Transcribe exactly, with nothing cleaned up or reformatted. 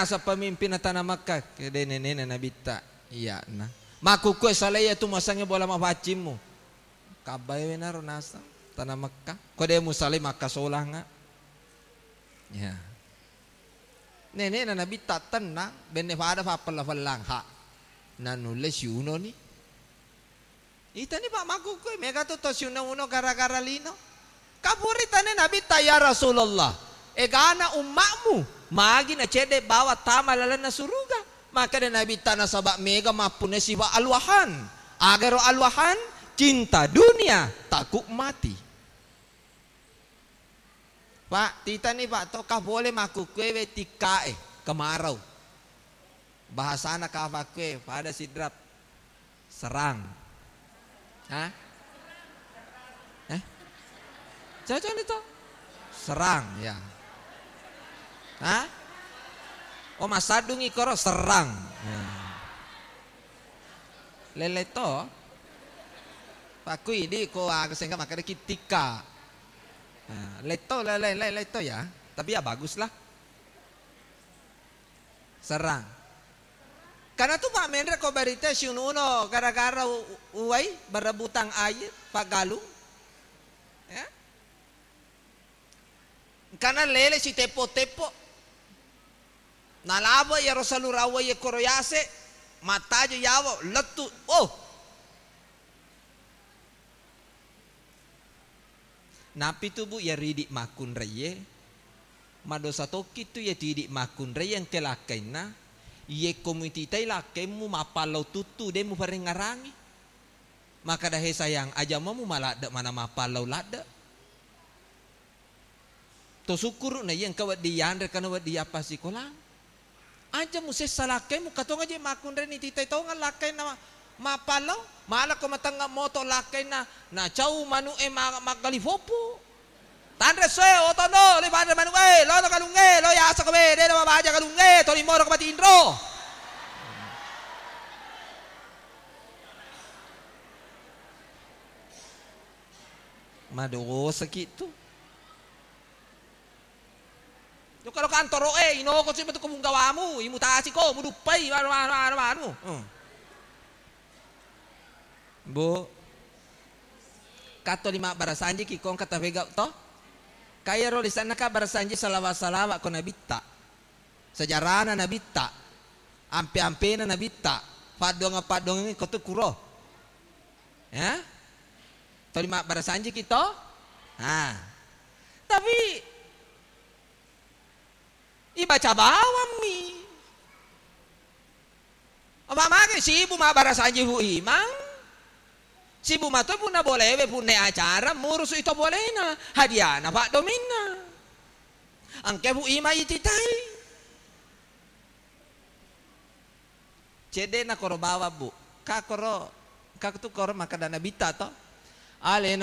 naseng pemimpinna tana Mekka, kede nenena Nabitta, iyana. Makkukkue salai iyatu muasengnge bola mapaccimmu. Kabbae wenaro naseng tana Mekka. Ko de musalai makkasolanga. Ya. Nenena Nabitta tennang, benne pada fappella-fellang, ha. Nanulle siunoni. Itani, Pak, makkukkue, mega tu to siuno-uno gara-gara lino. Kapuri tane Nabitta, "Ya Rasulullah, egana umma'mu magi nacedde bawa tama lalenna suruga?" Makkeda Nabitta, "Nasaba mega mappunna sifa alwahan." Agaro alwahan, cinta dunia, takut mati. Pak, titani, Pak, to ka pole makkukkue we tikkae, kemarau. Bahasana kafakkue pada sidrap. Serang. Hah? Eh? Cocok ni to? Serang, ya. Hah? Oh, masaddungi koro serang. Ya. Lele to? Pakku idi ko aga sengka makkeda kittika. Nah, letto, le-, le-, le-, letto ya. Tapi ya baguslah. Serang. Karena tu Pak Menre ko berita siununo gara-gara u-, uwai berebutan air, Pak Galung. Ya. Engkana lele siteppo-teppo. Nalaba iyaro salurawai koro yase, mattajo yawa, lettu. Oh. Napitu, Bu, iyaro idi makkunraiye, madosa tokki tu iyatu idi makkunraiye engka lakkainna, iyekko mutitai lakkaimmu mappallau tuttu, de muparengngarangi. Makkeda, "He sayang, aja mo mumaladde mana mappallau ladde." To sukkuru na iya engka wedding yanre kana wedding yappa sikolang. Aja musessa lakkaimmu, katong aja makkunreni titai tongeng lakkainna ma-, mappallau, malako matengnga moto lakkainna, nacau manu'e ma-, maggali foppo. Tanre soe, otono, le panre manu'e, lono galungnge, lo yasa kowe, de na mabaja galungnge, toli moro ko matinro. Madosaki tu. Jokka lo kantoro e, inoko si matu kobunggawamu, imutasi ko, muduppai, manu, manu, manu, manu. Hmm. Bu, katto lima barasanji ki kong kata pegau to? Kaya ro lisanna ka barasanji salawa-salawa ko nabitta. Sejarana nabitta. Ampe-ampena nabitta. Paddoangeng-paddoangeng ko tu kuro. Ya? Toli mabbarasanjiki to? Ha. Tapi ibaca bawammi. Apa mage sibu mabbarasanji Bu Imang? Sibu mato punna bolewe, punna acara murusu ito bolena. Hadiana paddominna. Engke Bu Imang ititai. Cedde'na koro bawang, Bu. Ka koro, ka tu koro makkeda nabitta to. Alena